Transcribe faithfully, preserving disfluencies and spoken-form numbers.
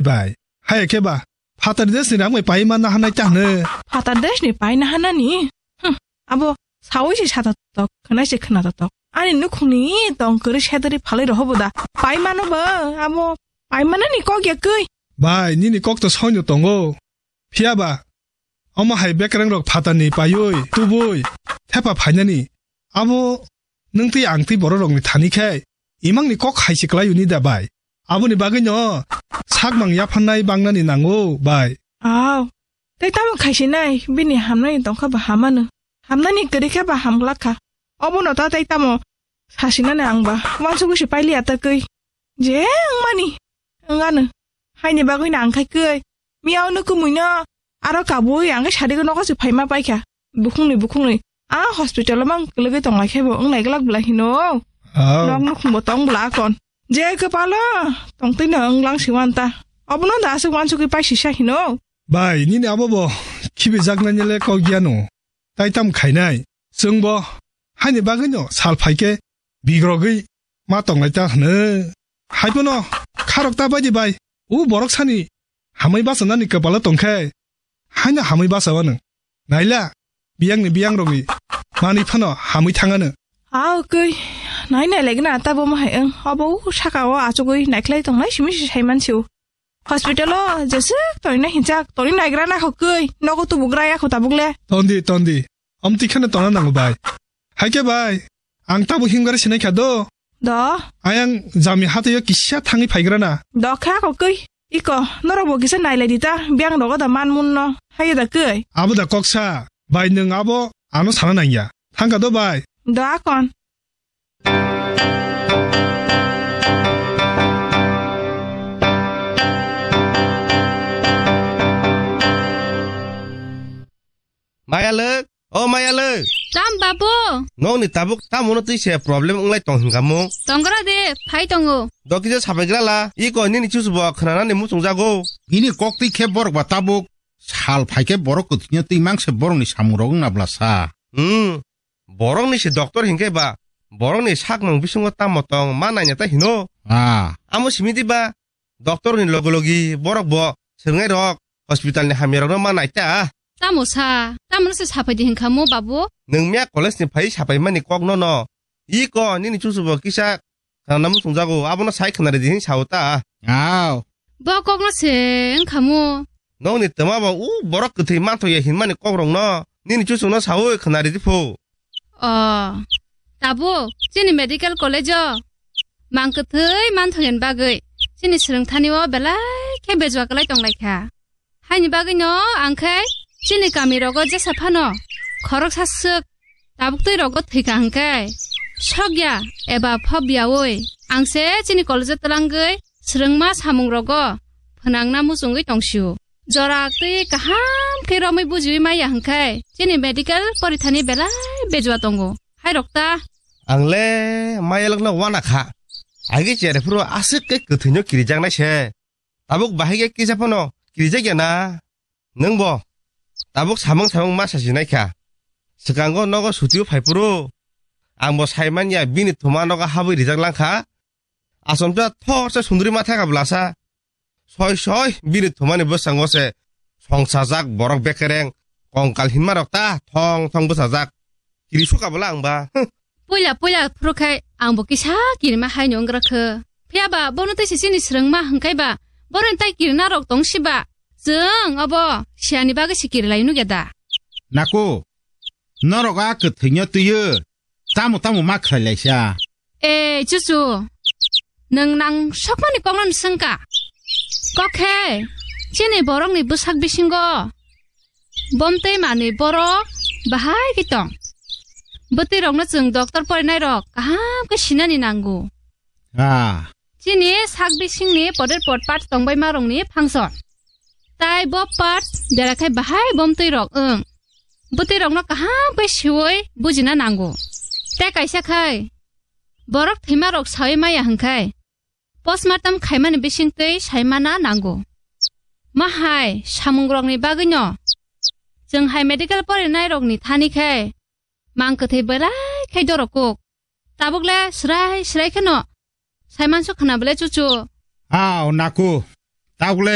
bai. Hai khe ba, phatar desni rang bai pai manna hanai ta hne. Phatar desni pai na hanani? Hm, abo sawi se sata tok, khwnai se khwna tok. Ani nukhungni tong kwrwi sedari phalwi rohobo da. Pai mano ba, abo pai manani kok ya kwi. Bai, nini kok to soino tongo. Phiya ba, omo hai bekreng rok phatarni paiwi, tubui, thepa phainani. Abo nwng twi ang twi borok rokni thani khe, imangni kok hai se kwlai uni da bai. Aboni bagwi no sakmang yaphannai bangnani nango bai. Aw, tei tamo khaisinai, bini hamnani tongkha ba hamano. Hamnani kwrwi khe ba hamglak kha. Obono ta tei tamo sasinani ang ba, wansugwi se pailiya ta kwi. Je wngmani, wngano. Haini bagwi no ang khai kwi. Miyao no kumui no, aro kabui ang khe sadi nogo se phaima paikha. Bukhungni, bukhungni. A hospital o mang kwlwgwi tonglai khe bo wnglai glak bwla hino. Oh. Nok nukhung bo tong bwla akon. Je kwpalo tongtwi no wnglang si wan ta. Obono da aswk wansugwi pai sisa hino. Bai, nini abo bo khibijaknani le kok ya no. Tai tam khainai. Chwng bo haini bagwi no sal phai khe bigrogwi ma tonglai ta hwno. Hai phano kharok ta bai di bai. U borok sani hamwi bachanani kwpalo tong khe haino hamwi bacha wano. Naila, biyangni biyangrogwi manwi phano hamwi thangano. Aw kwi, nai nai laigwna ta bo ma hai wng. Obo u saka o achugwi naikhlai tonglai simi si sai mansi u. Hospital o jeswk tongna hinchak, tongni naigra na kho kwi, nogo tubugra ya kho tabuk le. Tondi, tondi. Amtwi kheno tongna nango bai. Hai khe bai, ang tabuk himgari sinai kha do. Do? Ayang jami hatio kisa thangwi phaigra na. Do kha kho kwi. Iko, norok bo kisa nailai di ta, biyang rogo da man mun no. Hai da kwi. Abo da kok sa, bai nwng abo ano sana nangya. Thangkha do bai. Do akon. Mayalwk, o Mayalwk. Tam babu. Nokni tabuk tamono twi se problem wnglai tong hinka mo? Tongra de, phai tongo. Dokija sapaigra la, iko nini chusubo khwnanani muchungjago. Bini kok twi khe borok ba tabuk sal phai khe borok kwthwino twi mang se borokni samungrok wngna bwla sa. Hmm. Borokni se doctor hinkhe ba, borokni sakmung bisingo tamo tong ma naina ta hino. Ah. Amo simi di ba, doctor ni logi logi borok bo swrwngnai rok hospital ni hamya rokno ma nai ta. Tamo sa, tamo se sapai di hinkha mo babu? Nwng miya college ni phai sapai mani kok no no. I ko nini chusu bo kisa Khana muchungjago, abono sai khwnari di hin sao ta. Aw. Bo kokno se wngkha mo. Nokni twma bo u borok kwthwi manthoya hinmani kokrokno nini chuchukno saui khwnari di phu. O, tabuk chini medical college-o mang kwthwi manthoyani bagwi chini swrwngthani-o belai khe bejua kwlai tonglaikha. Haini bagwino ang khe chini kami rogo jesa phano khoroksa swk tabuk twi rogo thwikha hwnkhe sokya eba phobyaui ang se chini college-o twlangwi swrwngma samung rogo phwnangna muchungwi tongsio. Jora twi kaham khe romwi bujiwi maya hwnkhe chini medical porithani belai bejua tongo. Hai rok ta. Ang le mayalwkno wana kha. Agi chere phuru aswk khe kwthwino kirijaknai se. Tabuk bahai khe kisa phano kirijak ya na? Nwng bo tabuk samung samung ma sachi nai kha. Swkango nogo sutio phai phuru ang bo sai man ya bini thuma nogo habwi rijak lang kha. Achomsa thor se sunduri ma thaka bwlasa. Soi soi bini thumani bwskango se songsajak borok bekereng kongkal hinma rok ta thong thong bwsajak. Kiri suka bwla ang ba. Huh. Puila puila phuru khai ang bo kisa kirima hai no wnggra kho. Phiya ba bono tei se chini swrwngma hwnkhe ba boroni tai kirina rok tong si ba. Chwng obo siyani bagwi se kirilai nugya da. Naku, norok a kwthwino twiyo tamo tamo ma khlai laisa. E chuchu, nwng nang sokmani kokno swngka. Kok khe chini borokni bwsak bisingo Bomtwi manwi borok bahai khe tong. Bwtwi rokno chwng doctor porinai rok kaham khe sinani nango. Ah. Chini sak bisingni poder potpat tongbaima rokni function. Tai bo part bera khai bahai bomtwi rok wng. Bwtwi rokno kaham khe siwi bujina nango. Tei kaisa khai borok thwima rok sawi maya hwnkhe Postmortem khaimani bisingtwi saimana nango. Ma hai samungrokni bagwino chwng hai medical porinairokni thani khe mang kwthwi belai khai dorok kuk. Tabuk le srai srai kheno saimansu khwna bwle chuchu. Ao naku. Tabuk le